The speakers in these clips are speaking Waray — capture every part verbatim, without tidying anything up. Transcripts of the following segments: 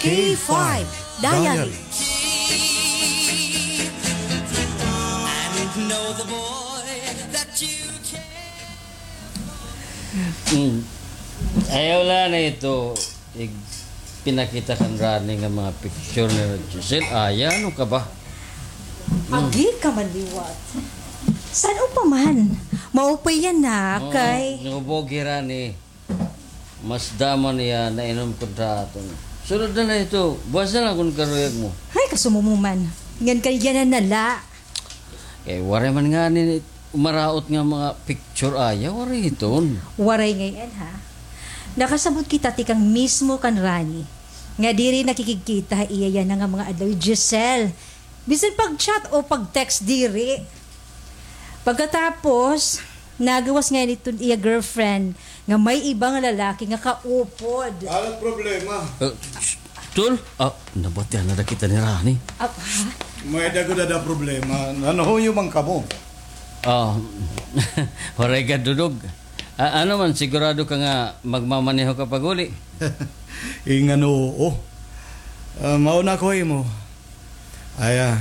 K five Diary. Mm. Ayaw la na ito. Ig-, pinakita kan Rani nga mga picture ni Giselle. Aya, ano ka ba? Mm. Agi ka man liwat. San-o pa man? Maupay yana, kay nubo gi Rani. Mas damo niya nainom kontra aton. Sunod na la ito. Buwas na la kon karuyag mo. Ay, kasumo mo man. Ngan kay yana na la. Kay waray man ngani maraot nga mga picture aya, waray hiton. Waray ngay-an, ha? Nakasabot kita tikang mismo kan Rani nga diri nakikigkita ha iya yana nga mga adlaw hi Giselle. Bisan pag-chat o pag-text diri. Pagkatapos, nagawas ngay-an iton iya girlfriend nga may iba nga lalaki nga kaupod. Ano problema? Eh, sh-, Tol, ah, nabatian na kita ni Rani. Ah, ha? May-ada gud ada problema. Nanhuyo man kamo? Ah, waray gad, Dudog. Ah, ano man, sigurado ka nga magmamaneho ka pag-uli? Ingan oo. Ah, mauna ko imo. Ay, ah,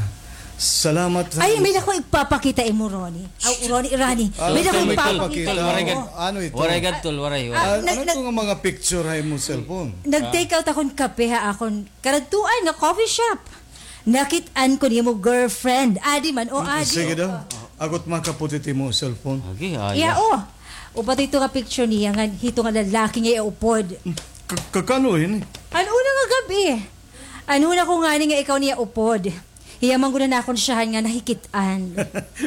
salamat. Ay, may-ada ko igpapakita imo, Ronnie. Aw, Ronnie, Rani. Ah, may-ada ko igpapakita imo. Ano ito? Waray gad. Ano ito? Waray gad, Tol, waray, waray. Ah, ano ito nga mga picture ha imo cellphone? Nag-take out akon kape ha akon karadtuan nga coffee shop. Nakit-an ko nimo girlfriend. Adi man, o, adi. Sige daw. Ako't makaputit imo cellphone. Agi, aya. Iya, o. Upat ito nga picture niya nga hito nga lalaki nga iya upod. Ka-, kakano ini? An una nga gab-i. An una ko ngani nga ikaw niya upod. Hiya man gud an akon syahan nga nahikit-an.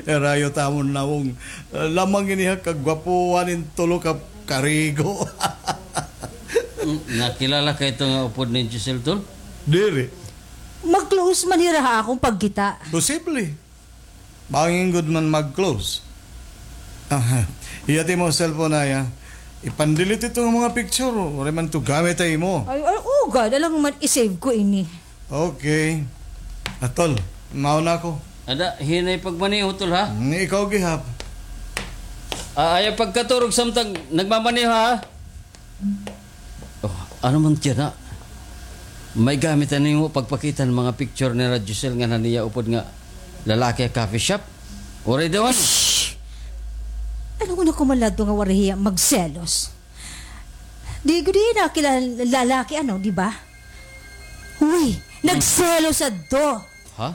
Rayo tamon nawong. Lamang ini ha kagwapuhan in tulo ka karigo. Mm, nakilala ka ito nga upod ni Giselle, Tol? Diri. Mag-close man hira ha akon pagkita. Posible. Bangin gud man mag-close. Aha. Iya ti mo cellphone, aya. Ipan-delete ito nga mga picture. Waray man ito gamit ha imo. Ay, ay, o, gad. Alangan man, i-save ko ini. Okay. Atol, mauna ako. Ada, hinay pagmaneho, Tol, ha? Mm, ikaw gihap. Ah, ayaw pagkaturog samtang nagmamaneho, ha? Oh, ano man tiyan, ha? May gamit na nimo pagpakita han mga picture ni Giselle ngan han iya upod nga lalaki ha coffee shop? Waray daw, ano? Shh! Ano nga nakumalado nga waray hiya magselos? Di gud hiya nakilala lalaki, ano, di ba? Uy, nagselos adto. Ha?